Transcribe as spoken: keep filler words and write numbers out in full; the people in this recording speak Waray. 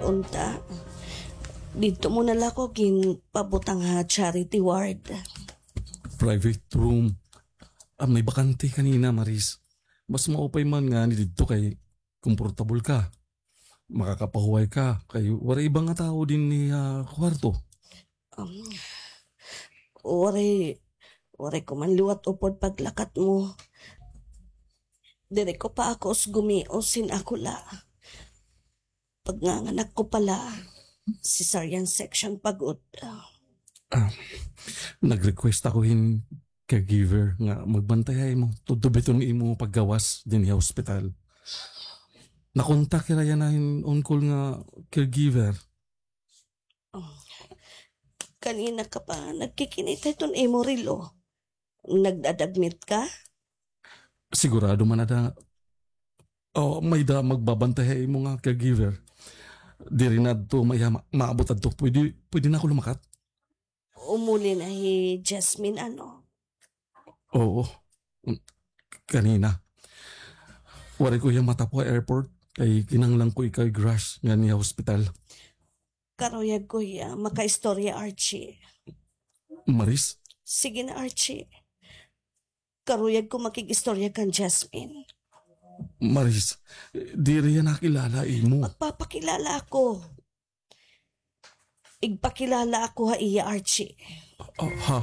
Unta, didto mo na la ako ginpabutang ha charity ward. Private room. Ah, may bakante kanina, Maris. Mas maupay man ngani didto kay komportable ka. Makakapahuway ka kay waray iba nga tawo dinhi ha kwarto. Um, waray, waray ko man liwat upod paglakat mo. Diri ko pa ako usgumios hin ako la. Pagnganganak ko pa la, cesarean section pa gud. Ah, nag-request ako hin caregiver nga magbantay ha imo. Tudto ba iton imo paggawas dinhi ha hospital? Nakontak hira yana hin on-call nga caregiver. Oh. Kanina ka pa nagkikinita hiton imo relo. Nagda-admit ka? Sigurado man ada. Oh, may-ada magbabantay ha imo nga caregiver. Diri na adto maiha ma-, maabot adto. Pwede, pwede na ako lumakat? Umuli na hi Jasmine, ano? Oo. Kanina. Waray ko hiya matapo ha airport. Kay kinahanglan ko ikaw ig-rush nganhi ha hospital. Karuyag ko hiya makaistorya, Archie. Maris? Sige na, Archie. Karuyag ko makig-istorya kan Jasmine. Maris, diri hiya nakilala ha imo. Magpapakilala ako. Igpakilala ako ha iya, Archie. Ah, ha?